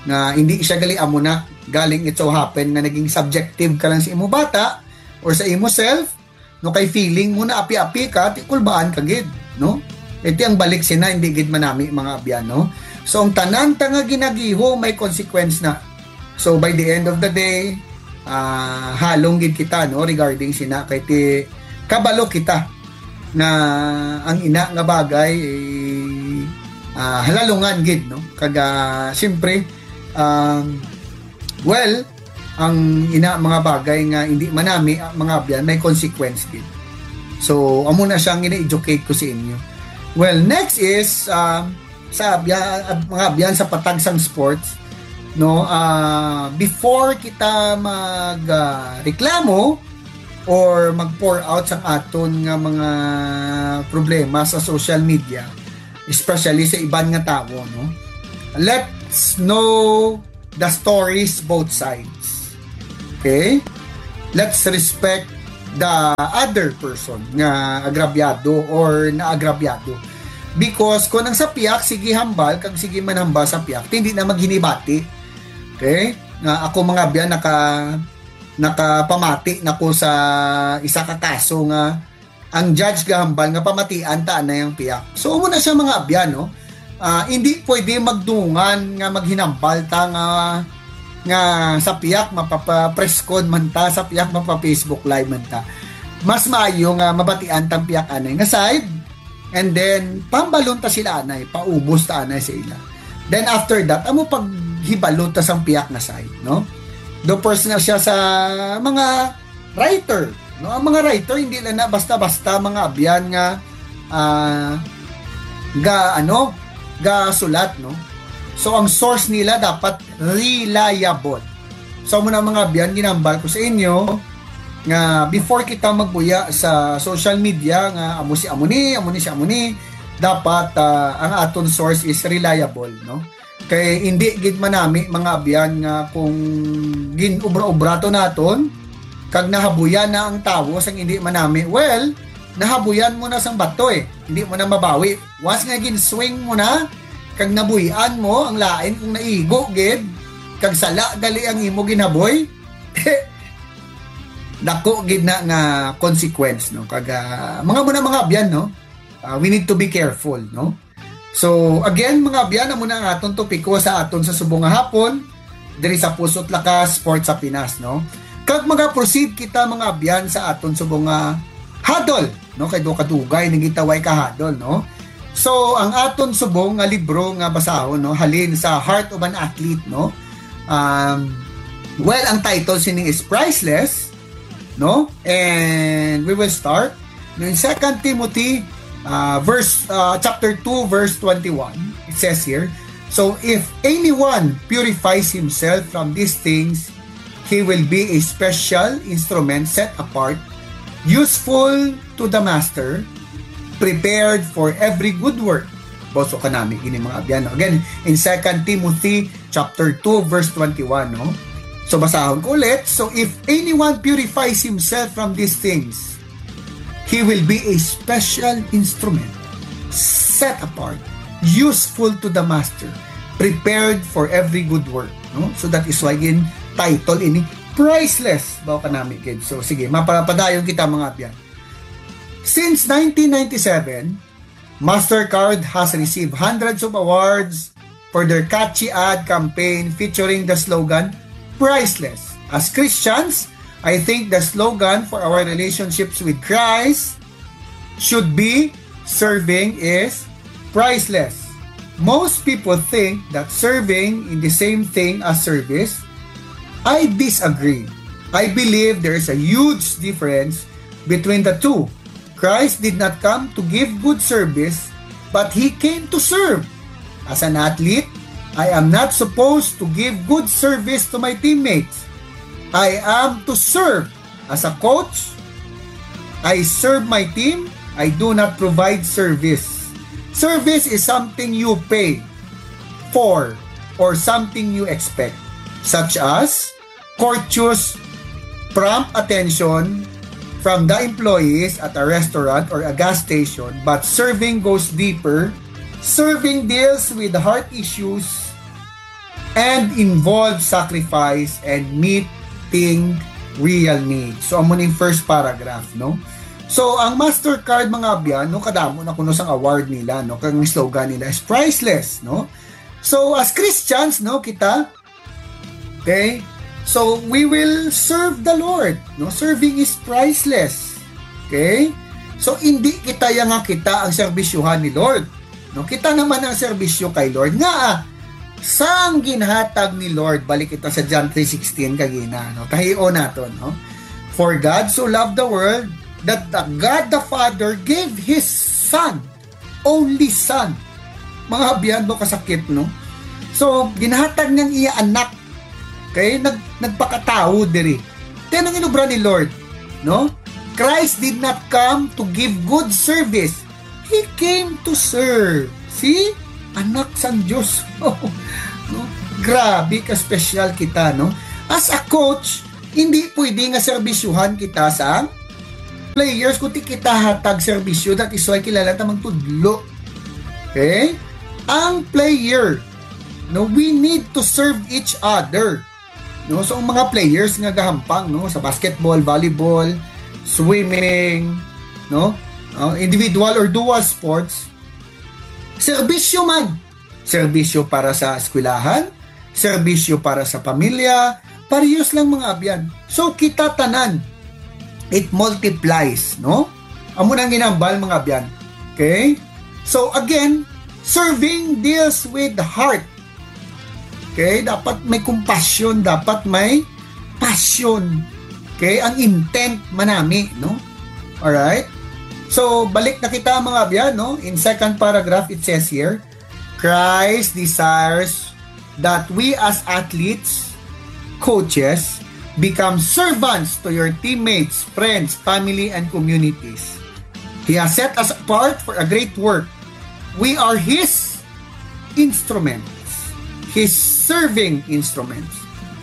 Nga hindi siya gali amo na, galing it so happen nga naging subjective ka lang sa imo bata or sa imo self, no, kay feeling mo na api-api ka, ti kulbaan ka gid, no? Iti ang balik sina, hindi gid manami, mga abyan, no? So, ang tanan ta nga ginagiho may consequence na. So, by the end of the day, ah, halong gid kita, no, regarding sina, kay ti kabalo kita na ang ina nga bagay, eh, ah, halalungan gid, no? Kag, ah, siyempre, um, well, ang ina mga bagay nga hindi manami, ah, mga abyan, may consequence gid. So, amo na siya ang gina-educate ko sa inyo. Well, next is, um, sa abya-, ab-, mga abyan, sa patag sang sports, no, ah, before kita mag, ah, reklamo, or mag-pour out sa aton nga mga problema sa social media, especially sa iban nga tawo, no? Let's know the stories both sides. Okay? Let's respect the other person nga agrabyado or naagrabyado. Because kung ang sa piyak, sige hambal, kag sige man hambal sa piyak, hindi na maghinibati. Okay? Nga ako, mga abyan, naka, nakapamati na ko sa isa ka kaso nga ang judge gahambal nga pamatian ta anay ang piyak. So, amo na siya, mga abyan, no? Ah, hindi pwede magdungan nga maghinambal ta nga, nga sa piyak mapapapreskon man ta, sa piyak mapa-Facebook Live man ta. Mas maayo nga mabatian tang piyak anay nga side, and then pambalon ta sila anay, paubos ta anay sa ila. Then after that, amo paghibalo ta sang piyak nga side, no? Do personal siya sa mga writer, no? Ang mga writer, hindi lang na basta-basta, mga abyan, nga, ah, ga, ano, ga sulat, no? So, ang source nila dapat reliable. So, amo na, mga abyan, ginambal ko sa inyo nga before kita magbuya sa social media nga amo si amo ni, amo ni si amo ni, dapat, ah, ang aton source is reliable, no? Kay hindi gid manami, mga abyan, nga kung gin-ubra-ubra to naton, kag nahabuyan na ang tawo sang hindi manami, well, nahabuyan mo na sang bato eh. Hindi mo na mabawi. Once nga gin-swing mo na, kag nabuy-an mo, ang lain kung naigo gid, kag sala gali ang imo ginhaboy, dako gid na nga consequence, no? Kag, ah, mga mo na, mga abyan, no? Ah, we need to be careful, no? So, again, mga abyan, amo na ang aton topiko sa aton sa subong nga hapon, diri sa Puso't Lakas Sports sa Pinas, no? Kag mga proceed kita, mga abyan, sa aton subong nga huddle, no? Kay do kadugay nang gitaway ka huddle, no? So, ang aton subong nga libro nga basahon, no, halin sa Heart of an Athlete, no? Um, well, ang title sining is Priceless, no? And we will start in Second Timothy, uh, verse, uh, chapter two, verse twenty-one. It says here, "So if anyone purifies himself from these things, he will be a special instrument set apart, useful to the master, prepared for every good work." Boso ka nami, gini, mga abyan. Again, in Second Timothy chapter two, verse twenty-one, no? So, basahon ko ulit. "So, if anyone purifies himself from these things, he will be a special instrument, set apart, useful to the master, prepared for every good work." No? So, that is why gin title ini Priceless. Bawo ka nami, kids. So, sige, mapapadayon kita, mga abyan. Since nineteen ninety-seven, Mastercard has received hundreds of awards for their catchy ad campaign featuring the slogan, "Priceless." As Christians, I think the slogan for our relationships with Christ should be, "Serving is priceless." Most people think that serving is the same thing as service. I disagree. I believe there is a huge difference between the two. Christ did not come to give good service, but he came to serve. As an athlete, I am not supposed to give good service to my teammates. I am to serve. As a coach, I serve my team. I do not provide service. Service is something you pay for or something you expect, such as courteous, prompt attention from the employees at a restaurant or a gas station, but serving goes deeper. Serving deals with heart issues and involves sacrifice and meeting real needs. So, amo ning first paragraph, no? So, ang Mastercard, mga abyan, no, kadamo na kuno sang award nila, no? Kag ang slogan nila is priceless, no? So, as Christians, no, kita, okay? So, we will serve the Lord, no? Serving is priceless. Okay? So, hindi kita ya nga kita ang serbisyuhan ni Lord. No, kita naman ang serbisyo kay Lord. Nga, ah, sang ginhatag ni Lord, balik kita sa John three sixteen kagina, no? Tahion naton, no? "For God so loved the world that the God the Father gave His Son, only Son." Mga abyan mo, kasakit, no? So, ginhatag niyang iya anak, kay nag-, nagpakatawo diri. Kaya nang inubra ni Lord, no? Christ did not come to give good service. He came to serve. See? Anak sang Diyos. No? Grabe ka special kita, no? As a coach, hindi pwede nga serbisyuhan kita sa players, kundi kita hatag serbisyo, that is why kilala ta magtudlo. Okay? Ang player, no, we need to serve each other. No, so ang mga players nga gahampang, no, sa basketball, volleyball, swimming, no, uh, individual or dual sports, serbisyo man. Serbisyo para sa eskwelahan, serbisyo para sa pamilya, parehas lang, mga abyan. So kita tanan, it multiplies, no? Amo nang ginambal, mga abyan. Okay? So again, serving deals with the heart. Okay? Dapat may compassion, dapat may passion. Okay? Ang intent manami, no? Alright? So balik na kita, mga abyan, no? In second paragraph, it says here, Christ desires that we as athletes, coaches, become servants to your teammates, friends, family, and communities. He has set us apart for a great work. We are His instruments, His serving instruments.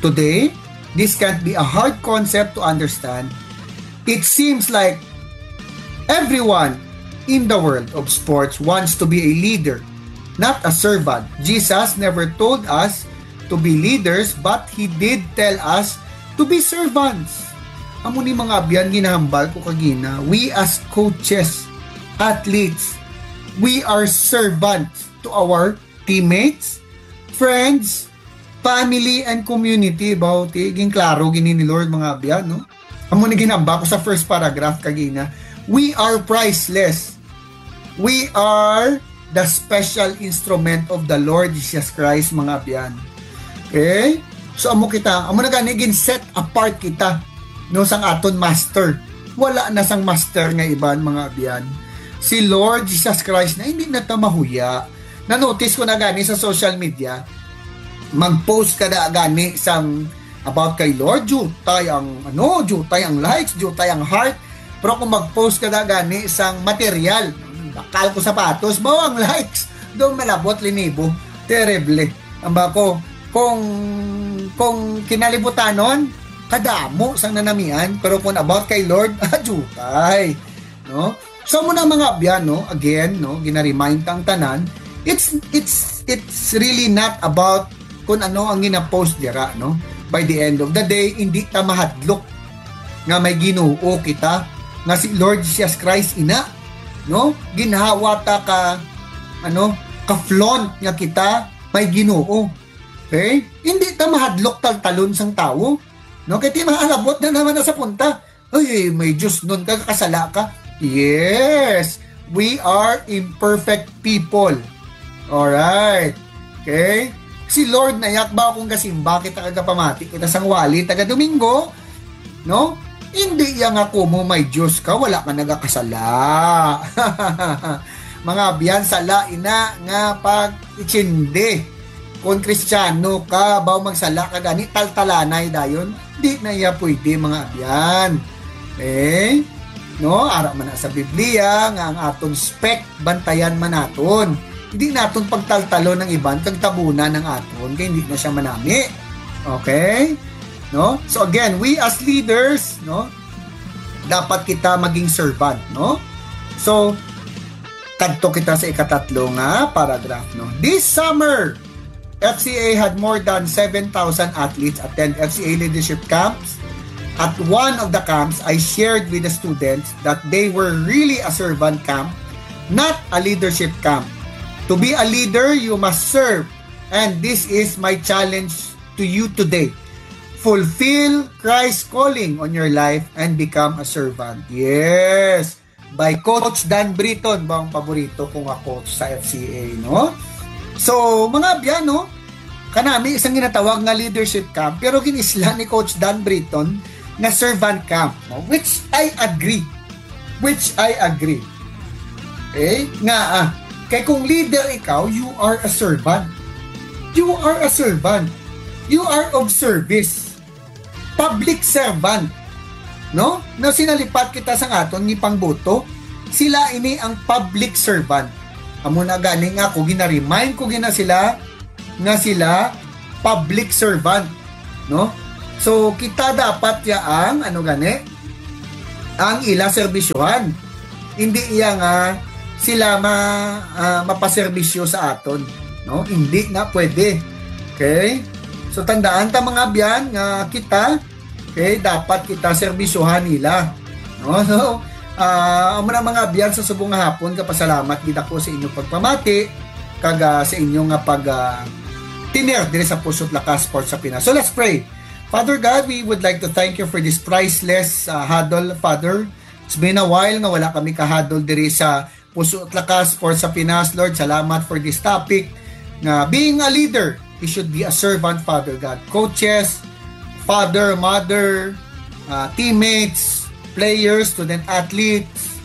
Today, this can't be a hard concept to understand. It seems like everyone in the world of sports wants to be a leader, not a servant. Jesus never told us to be leaders, but He did tell us to be servants. Amo ni, mga abyan, ginahambal ko kagina. We as coaches, athletes, we are servants to our teammates, friends, family, and community. Baw, ti, ginklaro gini ni Lord, mga abyan, no? Amo ni ginamba ko sa first paragraph kagina. We are priceless. We are the special instrument of the Lord Jesus Christ, mga abyan. Okay? So amo kita, amo na gani gin set apart kita, no, sang aton master. Wala na sang master nga iban, mga abyan. Si Lord Jesus Christ na, hindi na ta mahuya. Na-notice ko na gani sa social media, mag-post ka na gani sang about kay Lord, jutay ang, ano, jutay ang likes, jutay ang heart. Pero kung mag-post ka na gani sang material, bakal ko sapatos, mao ang likes. Doon malabot linibo. Terrible. Ang ba ko, kung, kung kinalibutanon, kadamo sang nanamian, pero kung about kay Lord, ah, jutay. No? So, amo na, mga abyan, no? Again, no, gina-remind ta ang tanan, it's, it's, it's really not about kung ano ang gina-post dira, no? By the end of the day, hindi ta mahadlok nga may Ginoo kita, nga si Lord Jesus Christ ina, no? Ginhawa ta ka, ano, ka-flaunt nga kita may Ginoo. Okay? Hindi ta mahadlok taltalon sang tawo, no? Kay ti mahalabot na naman na sa punta. Ay, may Diyos nun ka, kasala ka. Yes, we are imperfect people. Alright. Okay? Si Lord na yak ba akong gasimba kita kagapamati kita sang wali taga Domingo? No? Hindi iya nga kumo may Diyos ka, wala ka nagakasala. Mga abyan, sala ina nga pag-itsindi. Kung Kristiyano ka, baw magsala ka gani, taltalanay dayon, di na iya pwede, mga abyan. Okay? No? Ara man na sa Biblia nga ang aton spec bantayan man naton. Hindi naton pagtaltalon ang iban kag tabunan ang aton kay hindi na siya manami. Okay? No? So again, we as leaders, no, dapat kita maging servant, no? So kadto kita sa ikatatlo nga paragraph, no? This summer, F C A had more than seven thousand athletes attend F C A leadership camps. At one of the camps, I shared with the students that they were really a servant camp, not a leadership camp. To be a leader, you must serve. And this is my challenge to you today. Fulfill Christ's calling on your life and become a servant. Yes. By Coach Dan Britton, ba ang paborito ko nga coach sa F C A, no? So, mga abyan, no? Kanami isang ginatawag nga leadership camp, pero ginisla ni Coach Dan Britton nga servant camp, no? Which I agree. Which I agree. Eh, nga, ah, kay kung leader ikaw, you are a servant. You are a servant. You are of service. Public servant. no? No, sinalipat kita sa aton ni pangboto. Sila ini ang public servant. Amo na gani nga ako, ginaremind ko gina sila nga sila public servant, no? So, kita dapat ya ang, ano gani, ang ila serbisyohan. Hindi iya nga sila ma, ah, mapaserbisyo sa aton, no? Hindi na pwede. Okay? So, tandaan ta, mga abyan, nga kita, okay, dapat kita serbisyohan nila. No? So, ah, amo na, mga abyan, sa subong nga hapon, kapasalamat gid ako sa inyong pagpamati kag, ah, sa inyo nga pag, ah, tener diri sa Puso't Lakas Sports sa Pinas. So, let's pray. Father God, we would like to thank you for this priceless, ah, huddle, Father. It's been a while nga wala kami ka-huddle diri sa Puso't Lakas Sports sa Pinas. Lord, salamat for this topic nga being a leader, you should be a servant, Father God. Coaches, father, mother, ah, teammates, players, student athletes,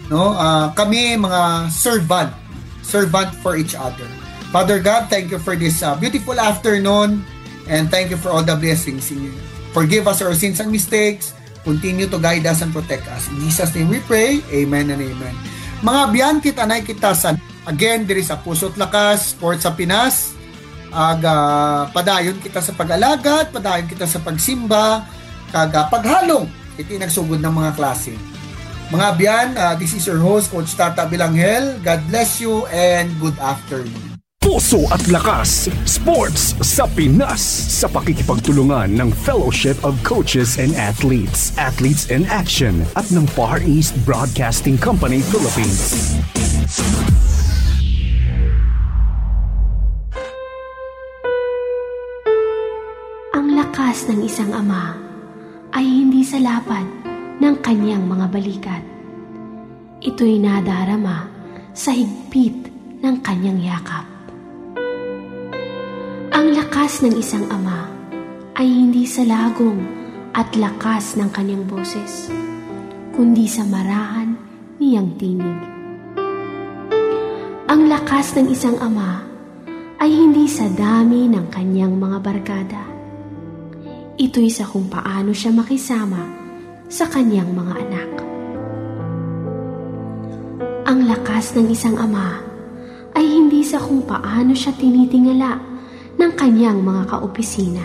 no? Ah, kami mga servant, servant for each other. Father God, thank you for this, ah, beautiful afternoon, and thank you for all the blessings. Forgive us our sins and mistakes. Continue to guide us and protect us. In Jesus' name we pray. Amen and amen. Mga abyan, kita na kita sa, again, diri sa Puso't Lakas Sports sa Pinas. Ag, ah, padayon kita sa pag-alagad, padayon kita sa pagsimba, kag, ah, paghalong iti nagsugod nga mga klase. Mga abyan, ah, this is your host, Coach Tata Bilanghel. God bless you and good afternoon. Puso't Lakas Sports sa Pinas, sa pakikipagtulungan ng Fellowship of Coaches and Athletes, Athletes in Action, at ng Far East Broadcasting Company Philippines. Ang lakas ng isang ama ay hindi sa lapad ng kanyang mga balikat. Ito'y nadarama sa higpit ng kanyang yakap. Ang lakas ng isang ama ay hindi sa lagom at lakas ng kanyang boses, kundi sa marahan niyang tinig. Ang lakas ng isang ama ay hindi sa dami ng kanyang mga barkada. Ito'y sa kung paano siya makisama sa kanyang mga anak. Ang lakas ng isang ama ay hindi sa kung paano siya tinitingala ng kanyang mga kaopisina.